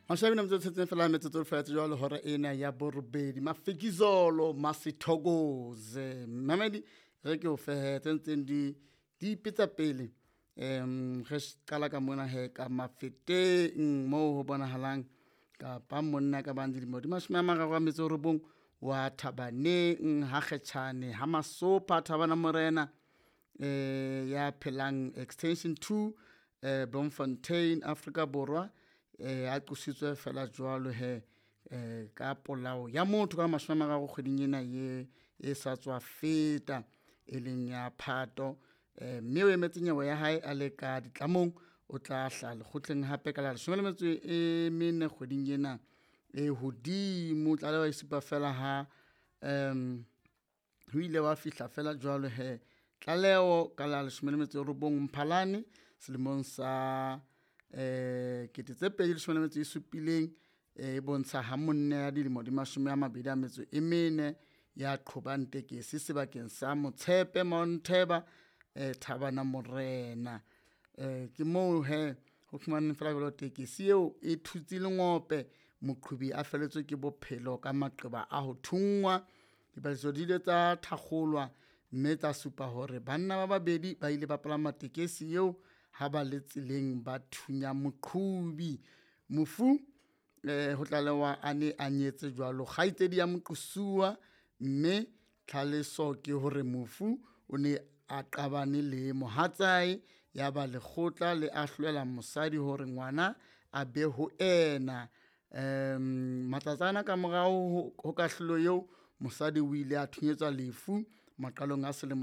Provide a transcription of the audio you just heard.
Mashabi na metsotso tshetseng fela metsotso fela tse jwalo hora ena ya borobedi. Mafikizolo Masithokoze mamedi re ke o fehe tse ntseng di di ipetsa pele. Re qala ka mona he ka Mafeteng moo ho bonahalang kapa monna ka bang dilemo di 39 wa Thabaneng ha Kgetjhane ha Masopha Thabana Morena, ya phelang Extension 2, Bloemfontein, Afrika Borwa. A qositswe fela jwalo he ka polao ya motho ka 30 kgweding ena ye e sa tswa feta, e leng ya Phato. Mme o emetse nyewe ya hae a le ka ditlamong, o tla hlaha lekgotleng hape ka la 14 kgweding ena e hodimo. Tlaleho e supa fela ha ho ile wa fihla fela jwalo he tlaleho ka la 19 Mphalane selemong sa 2017, e bontsha ha monna ya dilemo di 24 ya qhobang tekesi sebakeng sa Motshepe Mount-Tabor, Thabana Morena. Ke moo he ho fumaneng fela jwalo tekesi eo e thutse lengope, moqhobi a felletswe ke bophelo ka maqeba a ho thungwa. Dipatlisiso di ile tsa thakgolwa mme tsa supa hore banna ba babedi ba ile ba palama tekesi eo ha ba le tseleng ba thunya moqhobi. Mofu ho tlalewa a ne a nyetse jwalo kgaitsedi ya moqosuwa, mme tlhaloso ke hore mofu o ne a qabane le mohatsae, ya ba lekgotla le ahlolela mosadi hore ngwana a be ho ena. Matsatsana ka morao ho kahlolo eo, mosadi o ile a thunyetswa lefu maqalong a selemo.